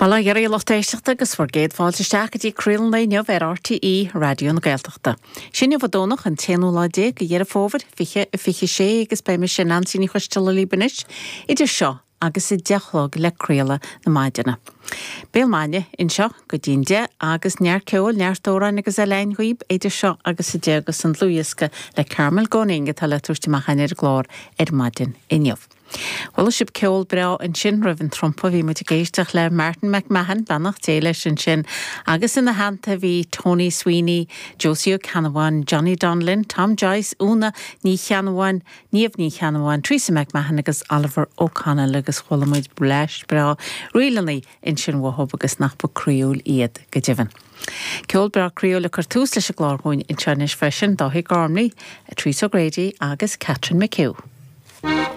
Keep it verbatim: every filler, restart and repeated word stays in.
Bail ó Dhia oraibh a lucht éisteachta agus bhur gcéad fáilte isteach go dtí Craoladh an Lae inniu ar RTÉ Raidió na Gaeltachta. Sin inniu an Domhnach an t-aonú lá déag de Dheireadh Fómhair fiche a fiche sé agus beidh mise Neansaí Ní Choisteala libh anois idir seo agus a deich a chlog le craoladh na maidine. Béal Maidine anseo go dtí'n deich agus neart ceoil, neart amhráin agus eile againn dhaoib idir seo agus a deich agus an dlúthdhiosca le Carmel Gunning atá le tabhairt amach ar an gclár ar maidin inniu. Chuala sibh ceol breá ansin roimh an trumpa bhí muid ag éisteacht le Martin McMahon beannacht Dé leis ansin, agus ina theannta bhí Tony Sweeney, Josie Ó Ceannabháin, Johnny Donlin, Tom Joyce, Úna Ní Cheannabháin, Niamh Ní Cheannabháin, Teresa McMahon agus Oliver O'Connell agus chuala muid bleaist breá ríleanna ansin uathub agus nach ba croíúil iad go deimhin. Ceol breá croíúil le cur tús leis an gclár dhúinn anseo anois freisin Dáithí Gormley, Teresa O'Grady agus Catherine McHugh.